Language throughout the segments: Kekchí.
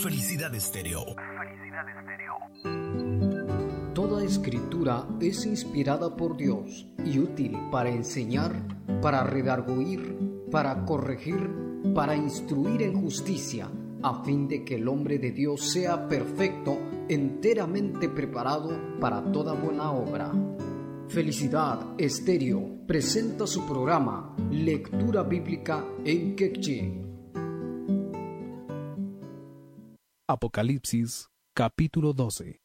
Felicidad Estéreo. Toda escritura es inspirada por Dios y útil para enseñar, para redarguir, para corregir, para instruir en justicia, a fin de que el hombre de Dios sea perfecto, enteramente preparado para toda buena obra. Felicidad Estéreo presenta su programa Lectura Bíblica en Quechí. Apocalipsis capítulo 12.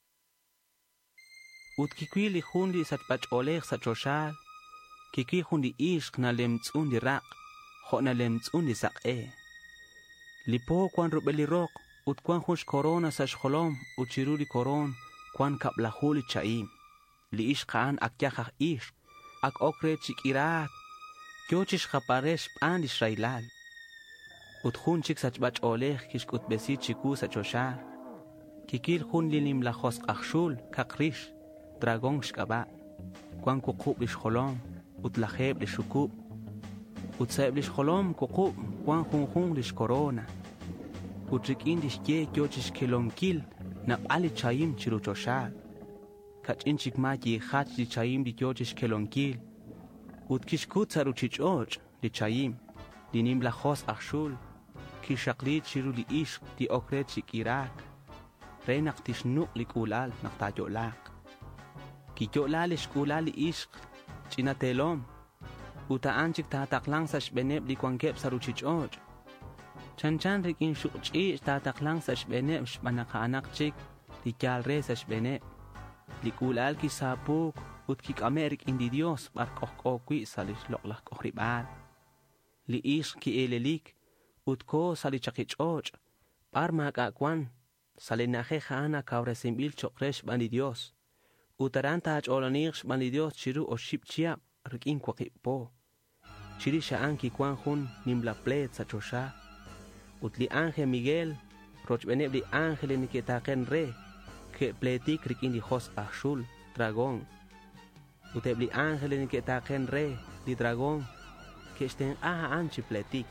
Ut kiwil li jun li sachb'ach'oolej sa' choxaal, kiwil jun li ixq nalemtz'un li raq', jo' nalemtz'un li saq'e. Li po cuan rub'el li roq ut cuan jun xcorona sa' xjolom ut chiru li koron cuan kab'laju li cha'im. Li ixq a'an ak yaj aj ixq, ak ok re chi k'iraak, yo chi xjapare xb'aan li xraylal. Ut jun chik sachb'ach'oolej kixk'utb'esi chiwu sa' choxaal. Kikil jun li nimla josq' aj xul kaq rix, dragón xk'ab'a'. Cuan wuqub' li xjolom ut lajeeb' li xukub'. Ut sa'eb' li xjolom wuqub' cuan junjun li xcorona. Ut rik'in li xye yo chi xkelonkil nab'al li chayim chiru choxaal. Kach'in chik ma yijach li chayim li yo chi xkelonkil. Ut kixkut sa' ruchich'och' li chayim, li nimla josq' aj xul, kixaqli chiru li ixq li ok re chi k'iraak, re naq tixnuq' li k'uulal naq taayo'laaq. Kiyo'la li xk'uulal li ixq ch'ina teelom, ut a'an chik taataqlan sa' xb'eeneb' li wankeb' sa' ruchich'och'. Chanchan rik'in xuq'ch'iich' taataqlan sa' xb'eeneb' xb'aan naq a'anaq chik li yaal re sa' xb'eeneb'. Li k'uulal kisaapuuk ut kik'ame' rik'in li Dios b'ar k'ojk'o wi' sa' li xloq'laj k'ojrib'aal. Li ixq ki'eelelik ut ko sa' li chaqich'och' b'ar maak'a' wan, sa' li na'ajej a'an akawresinb'il cho'q re xb'aan li Dios. Ut aran taach'oolaniiq xb'aan li Dios chiru oxib' chihab' rik'in waqib' po. Chirix a'an kiwan jun nimla pleet sa' choxa. Ut li ángel Miguel, rochb'eeneb' li ángel li neke'taaqen re, ke'pleetik rik'in li josq' aj xul, dragón. Ut eb' li ángel li neke'taaqen re, li dragón, ke'xtenq'a a'an chi pleetik.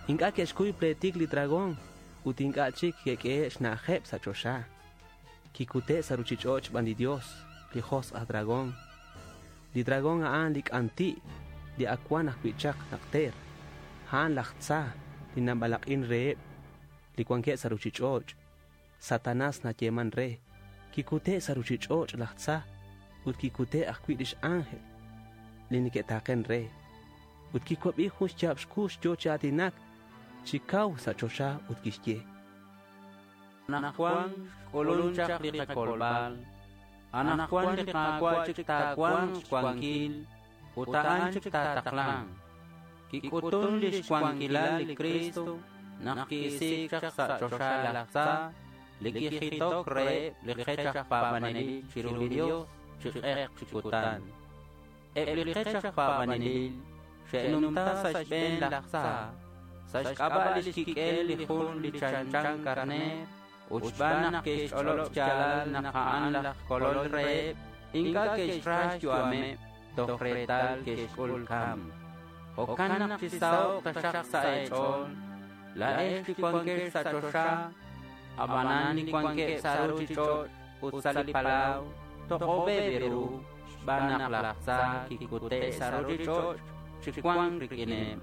Ink'a' ke'xkuy pleetik li dragón ut ink'a' chik ke'k'ehe' xna'ajeb' sa' choxa. Kikute' sa' ruchich'och' xb'aan li Dios, li josq' aj dragón. Li dragón a'an li k'anti' li ak wan ajwi' chaq naqter. A'an laj tza li nab'alaq'in reheb' li wankeb' sa' ruchich'och'. Satanás nayeeman re. Kikute' sa' ruchich'och' laj tza ut kikute' ajwi' lix ángel li neke'taaqen re. Ut kiwab'i jun xyaab' xkux yo chi aatinak chi kaw sa' choxa ut kixye. Anaqwan k'ulun chaq li qakolb'al. Anaqwan li Qaawa' chik taawanq xwankil ut a'an chik taataqlan. Kik'utun li xwankilal li Cristo naq ki'isiik chaq sa' choxa laj tza, li kijitok reheb' li qech aj paab'anelil chiru li Dios chi q'eq chi kutan. Eb' li qech aj paab'anelil xe'numta sa' xb'een laj tza, sa' xk'ab'a' li xkik'el li jun li chanchan karneer, ut xb'aan naq ke'xch'olob' xyaalal naq a'an laj kolol reheb', ink'a' ke'xra xyu'ameb' toj reetal ke'xk'ul kamk. Jo'kan naq chisaho'q taxaq sa' eech'ool, laa'ex li wankex sa' choxa, ab'anan li wankeb' sa' ruchich'och' ut sa' li palaw, toq'ob'eb' ru xb'aan naq laj tza kikute' sa' ruchich'och' chi wank rik'ineb'.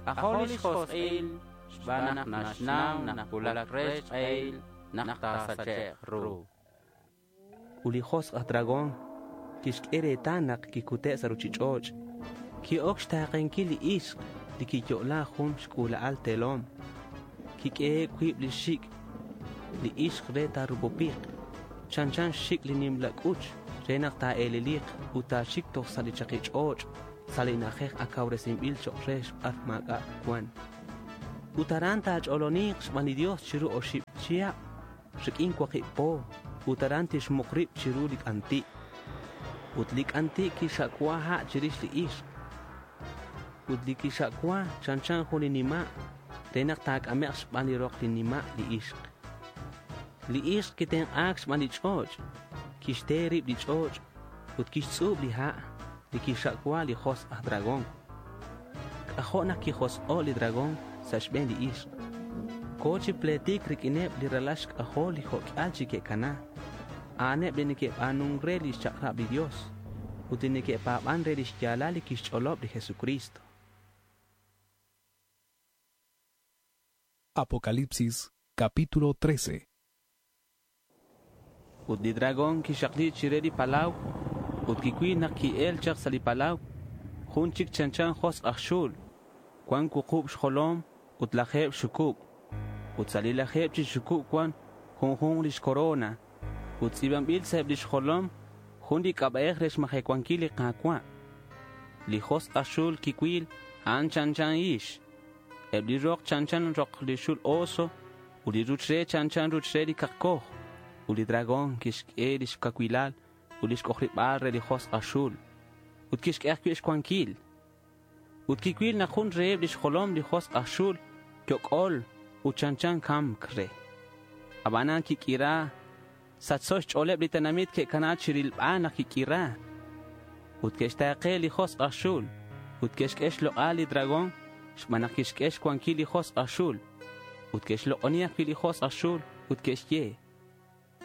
K'ajo' li xjosq'il xb'aan naq naxnaw naq wulak re xq'ehil naq taasache'q ru. Ut li josq' aj dragón kixk'e reetal naq kikute' sa' ruchich'och'. Ki'ok xtaaqenkil li ixq li kiyo'la jun xk'uula'al teelom. Kik'ehe' wiib' li xik' li ixq re taarupupiq, chanchan xxik' li nimla k'uch re naq taa'eeleliq ut taaxik toj sa' li chaqich'och' sa' li na'ajej akawresinb'il cho'q re xb'ar maak'a' wan. Ut aran taach'ooloniiq xb'aan li Dios chiru oxib' chihab' rik'in waqib' po, ut aran tixmuq rib' chiru li k'anti'. Ut li k'anti' kixa'wa ha' chirix li ixq. Ut li kixa'wa chanchan jun li nima' re naq taak'ame'q xb'aan li roq li nima' li ixq. Li ixq kitenq'aak xb'aan li ch'och', kixte rib' li ch'och' ut kixtz'uub' li ha' li kixa'wa li josq' aj dragón. K'ajo' naq kijosq'o' li dragón sa' xb'een li ixq. Ko chi pletik riq'uineb li ralal xk'ajol li jo'k'al chi ke'cana. A'aneb li neke'b'anun re lix chak'rab li Dios ut li neke'pa̱ban re lix yalal li quixch'olob li Jesucristo. Apocalipsis capítulo 13. Ut li dragón kixaqli chire li palaw ut kicuil nak ki'el chak sa' li palaw jun chic chanchan josk' aj xul cuan wuqub xjolom ut lajeb xucub ut sa' li lajeb chi xucub cuan junjun lix corona ut tz'i̱banbil sa' eb lix jolom jun li k'ab'a'ej re xmajecuanquil li Ka̱cua'. Li josk' aj xul kicuil a'an chanchan ix. Eb li rok chanchan rok li xul oso ut li ruch re chanchan ruch re li kakoj. Ut li dragón kixk'e lix kacuilal ut lix k'ojrib'al re li josk' aj xul. Ut kixk'e ajwi' xcuanquil. Ut kicuil nak jun reheb lix jolom li josk' aj xul yok'ol ut chanchan kamk re. Abanan kik'ira sachso xch'ooleb li tenamit ke'kana chirilb'al naq kik'ira. Ut ke'xtaaqe li josk' aj xul ut ke'xk'e xloq'al li dragón xb'aan naq kixk'e xcuanquil li josk' aj xul. Ut ke'xloq'oni ajwi' li josk' aj xul ut ke'xye: